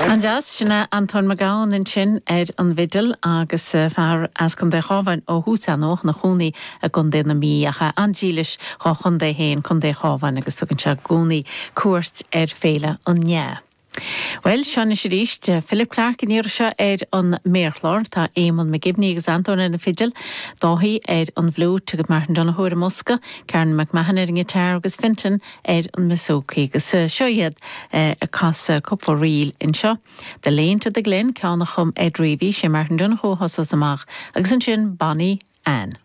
An-deas, sin é Antóin Mac Gabhann ansin ar an bhfidil agus fear as Contae an Chabháin ó thús ar ndóigh, ina chónaí i gContae na Mí ach é an-dílis dhá chontae féin, Contae an Chabháin agus tugann sé i gcónaí cuairt ar Féile an Fhleadh. Bhuel, seo anois arís Philip Clarke an iarraidh seo ar an méarchlár. Tá Éamonn McGibney agus Antóin ar na fidil, Dáithí ar an bhfliúit agus Martin Donohoe ar an mbosca, Karen McMahon ar an ngiotár agus Fintan ar an mbouzouki. Agus seo iad ag casadh cúpla ríl anseo. The Lane to the Glen, ceann a chum Ed Reavy, sé Martin Donohoe a thosós amach agus ansin Bonnie Anne.